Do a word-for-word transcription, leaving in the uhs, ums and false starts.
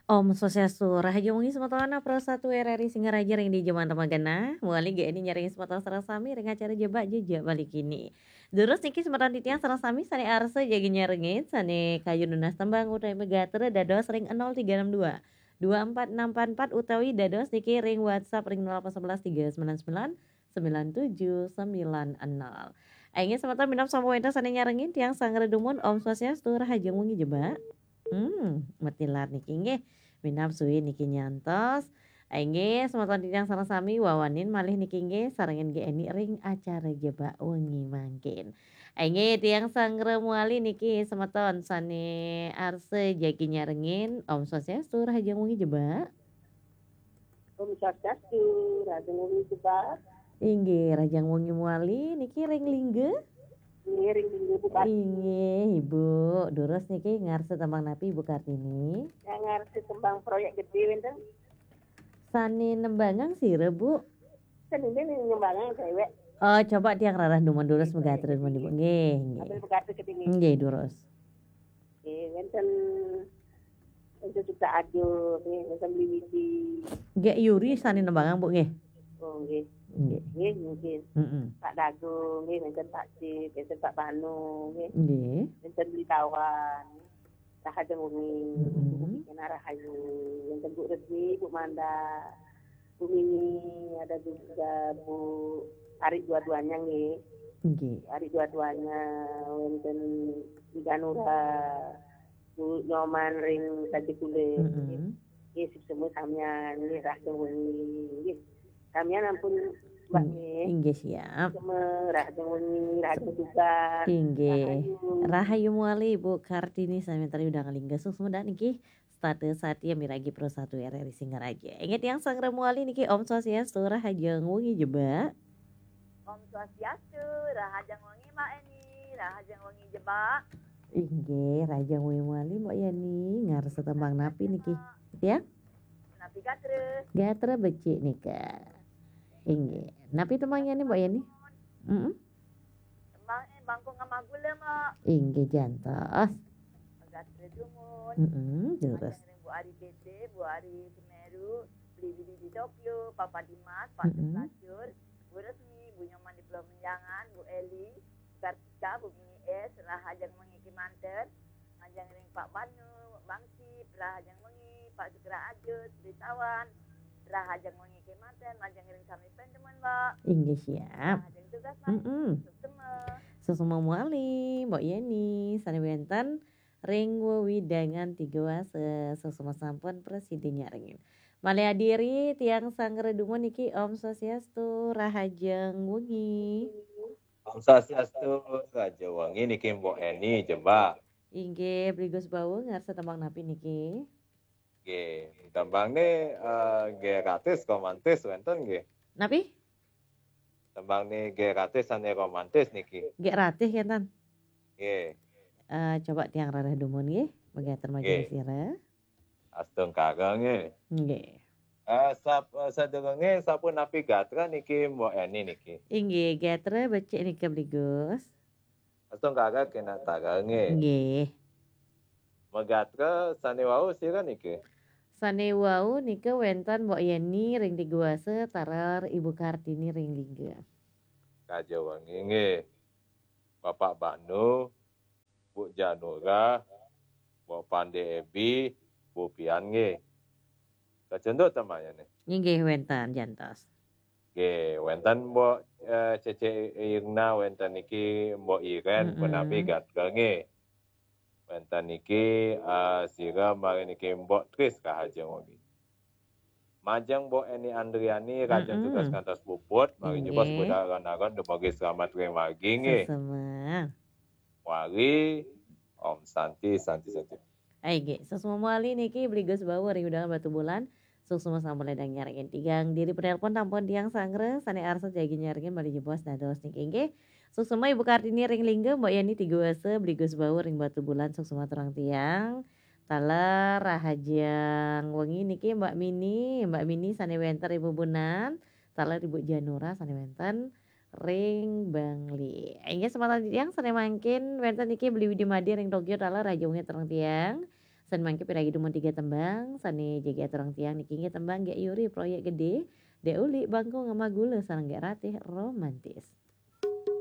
Om Swastiastu, rahajeng wengi semeton Pro satu R R I Singaraja ring dija manten magenah. Malih niki nyarengin semeton sareng sami ring acara Jebak Jejak Bali kini. Durus niki semeton titiang sareng sami sane arsa jagi nyarengin, sane kayun nunas tembang utawi magatra dados ring nol tiga enam dua, dua empat enam empat empat utawi dados niki ring WhatsApp ring nol delapan sebelas tiga sembilan sembilan sembilan tujuh sembilan nol. Inggih semeton minab sampun wenten sane nyarengin, tiang sanggra dumun, Om Swastiastu, rahajeng wengi Jebak. Hmm, matilar niki nggih. Minab suwi niki nyantos. Inggih, semeton titiang sareng sami wawanin malih niki nggih, sarengin Gék Eni ring acara Jebak Wengi mangkin. Inggih, tiang sanggra mawali niki semeton sane arsa jagi nyarengin, Om Swastiastu, rahajeng wengi Jebak. Om Swastiastu, rahajeng wengi Jebak. Inggih, rahajeng wengi mawali niki ring Lingga. Inggih, ring Lingga, Bu Kartini. Inggih, Ibu. Durus niki ngarsa tembang napi, Ibu Kartini? Ya, ngarsa tembang Proyek Gede wenten. Sane nembangang sira, Bu? Sane nembangang dewek. Oh, coba tiang rarah dumun durus. Nggih, magatra dumun, Ibu. Nggih, nggih. Sambil magatra keding, nggih. Nggih, durus. Nggih, wenten, wenten Suka Aduh, nggih, wenten Beli Widi. Gék Yuri sane nembangang, Bu, nggih. Oh, nggih. Nggih. Nggih, mungkin. Mm-mm. Pak Dago, nggih, wenten Pak Cip, wenten Pak Banu, nggih. Nggih. Wenten Beli Tawan. Rahajeng wengi, mm-mm, Ibu Bikina Rahayu, wenten Bu Resmi, Bu Manda, Bu Mimi, ada juga Bu Ari dua-duanya, nggih. Nggih. Ari dua-duanya, wenten Ibu Danura, Bu Nyoman ring Taji Kulit. Mm-mm. Nggih, sami samian, nggih, rahajeng wengi, nggih. Samian ampun, Mbak, ing-, nggih. Inggih, siap. Sami rahajeng wengi, rahajeng tugas. Inggih. Rahayu. Rahayu mawali, Ibu Kartini, sami tari Udang Lingga. Suksma niki setata satia miragi Pro satu R R I Singaraja. Inggih tiang sanggra mawali niki, Om Swastiastu, rahajeng wengi Jebak. Om Swastiastu, rahajeng wengi Mbak Eni, rahajeng wengi Jebak. Inggih, rahajeng wengi mawali Mbak Yani, ngarsa tembang napi niki? Ya? Napi gatra? Gatra becik nika. Inggih. Napi tembang Yani, Mbak Yani? Mm-mm. Tembang, eh, Bangkung Ngamah Gula, Mbak. Inggih, jantos. Gatra dumun. Mm-mm, durus. Rahajeng ring Bu Ari Tete, Bu Ari Semeru, Beli Widi di Tokyo, Papa Dimas, Pak, mm-mm, Lacur, Bu Resmi, Bu Nyoman di Pulau Menjangan, Bu Eli, Kartika, Bu Mini S, rahajeng wengi kemanten, majeng ring Pak Banu, Bang Sip, rahajeng wengi, Pak Sukra Ajut, Beli Tawan, rahajeng wengi kemanten, majeng ring sami panjenengan, Mbak. Inggih, siap. Rahajeng tugas, Mbak. Mm-mm. Suksma. Suksma mawali, Mbok Yeni, sane wenten ring wewidangan Tiga Wasa, suksma sampun prasida nyarengin. Malih adiri tiang sanggra dumun niki, Om Swastiastu, rahajeng wengi. Om Swastiastu, rahajeng wengi niki Mbok Eni, Jebak. Inggih, Bli Gus Bawu, ngarsa tembang napi niki? Nggih, tembangne, eh, nggih romantis, romantis wenten nggih. Napi? Tembangne nggih romantis, sane romantis niki. Nggih romantis kenten. Nggih. Eh, coba tiang rarah dumun nggih, mangke atur majeng sira. Astungkara nggih. Nggih. Eh, sap-, eh, sadurunge sampun napi gatra niki Mbok Eni niki? Inggih, gatra becik nika Bli Gus. Astungkara Kenatara nggih. Nggih. Magatra sane wau sira niki? Sane wau nika wenten Mbok Yeni ring Tiga Wasa, taler Ibu Kartini ring Lingga. Rahajeng wengi nggih. Bapak Banu, Bu Janura, Mbok Pande Ebi, Bu Pian nggih. Kacunduk temanya nih. Inggih wenten jantos. Nggih, wenten Mbok, eh, Cece Irna, wenten niki Mbok Iren, mm-mm, punapi gatra nggih. Wenten niki, eh, sira mari niki Mbok Tris, rahajeng wengi. Majeng Mbok Eni Andriani, rahajeng, mm-mm, tugas ngantos puput, mari nyebos, nggih, budal ron-aron dumugi selamat ring margi nggih. Suksma. Mari, Om Santi, Santi, Santi. Inggih, suksma mawali niki Bli Gus Bawu ring wewidangan Batubulan. Suksma sampun ledang nyarengin. Tigang diri penelpon sampun tiang sanggra, sane arsa jagi nyarengin malih jebos dados niki nggih. Suksma Ibu Kartini ring Lingga, Mbok Yeni Tiga Wasa, Bli Gus Bawu ring Batubulan, suksma aturang tiang. Taler rahajeng wengi niki Mbak Mini, Mbak Mini sane wenten ring Bubunan, taler Ibu Janura sane wenten ring Bangli. Inggih, semeton tiang sane mangkin wenten niki Beli Widi Madi ring Tokyo, taler rahajeng wengi aturang tiang. Sané mangké piragi dumun tiga tembang sané jagi aturang tiang niki inggih tembang Gék Yuri Proyék Gedé, Dék Uli Bangku Ngema Gula sareng Gék Ratih Romantis.